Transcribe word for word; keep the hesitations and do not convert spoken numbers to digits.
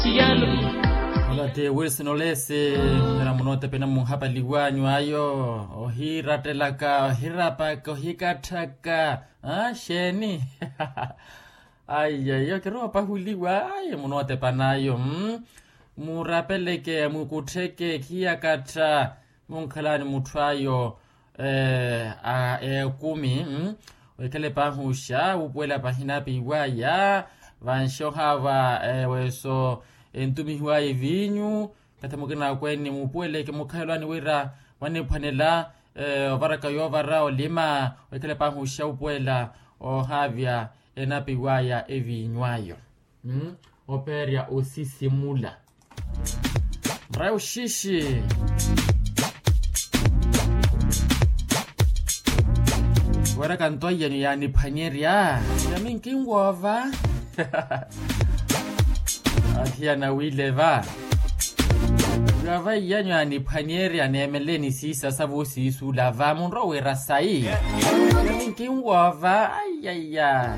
Ola ti wilson olesi. Nira munootepe namunhapaliwanyu ayo, ohiirattelaka ohirapaka ohikatthaka. Xeeni? Ayi ayi okirowa opahuliwa ayi munootepa n'ayo. Murapeleke mukuttheke khiyakattha. Munkhalani mutthu ayo a ekumi. Wekhale paahi oxa wuupuwela pahina piiwaya. Vanxoha va weso entumihiwaya eviinyu. Kathi mukina akweeni muupuweleke mukhalelwani wira mwaniphwanela ovaraka yoovara olima. Wekhale paahi oxa wuupuwela ohaavya enapiwaya eviinyu ayo. Opeerya osisimula. Murayi oxixi. Wira kanto iyano yaaniphwanyerya. Yami nkinwoova. Athiyana wile va. Yoova iyanyu yaaniphwanyerya neemeleni siisa sa voosiisula va munrowa wira sayi. Yami nkinwoova. Ayaya.